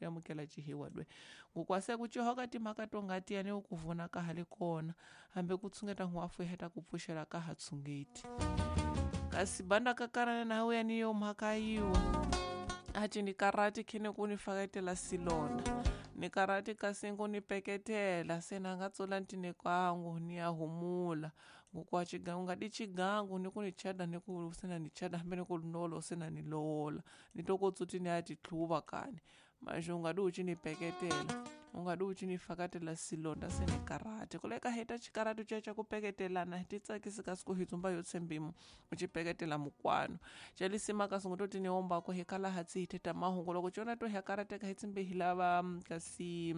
Amukela cihiwa dwe ngukwase ku cihoka timhaka to ngati yani ku vuna ka ha le kona hambi ku tshungeta n'wafu heta ku pfuxela ka ha tshungeti kasi banda kakarana na yani yo mhaka yiwa aci ni karati khini ku ni faketela silonda ni karati kasi ku ni peketela se na nga tsula ntine kwangu ni ya humula ngukwa chigangu ngadi chigangu ni ku ni chada ni ku sena ni chada hambi ni ku nolo sena ni lowola ni to ku tsuti ni ya tihluva kani manje u nga di u ci ni peketela u nga di u ci ni fakatela silonda se ni karate kuleka heta chikarati ca ca ku peketelana hi ti tsakisi kasi ku hi dzumba yo tshembimu u ci peketela mukwano calisima kasi ngo to ti ni ombako hi kala hatsi hi theta mahungu loko cona to hi karateka hi tsimbe hi lava kasi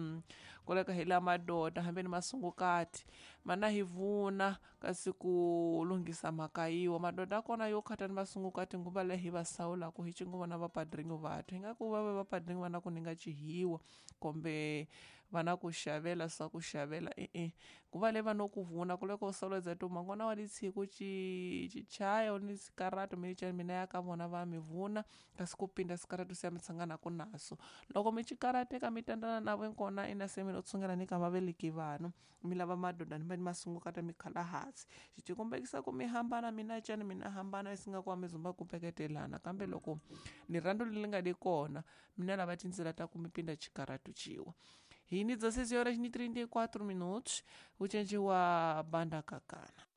kuleka hi la madoda hambi ni masungukati mana hi vuna kasi ku lunghisa mhaka yiwa madoda kona yo khata ni masungukati nguva leyi hi va sawulaku hi cingu vona vapadringo vathu hi nga ku va va vapadringo va na ku ni nga cihiwa kumbe va na ku xavela swa ku xavela e-e nguva leyi va no ku vuna ku loko sawuledza tuma ngona wa litshiku ci cichaya ni sikaratu mi ca mina ya ka vona va mi vuna kasi ku pinda sikaratu se mi tshanganaku naso loko mi cikarateka mi tandana na vo kona ina se mi lo tshungela ni ka vaveleki vanhu mi lava madoda ni va ni masungukata mi khala hansi xi tikombekisa ku mi hambana mina cani mina hambana isi nga ku mi zumba ku peketelana kambe loko ni rhandzu leri nga le kona mina lava tindzela ta ku mi pinda xikaratu ciwa hi ni 16 horas ni 34 minutos u cenciwa banda kakana.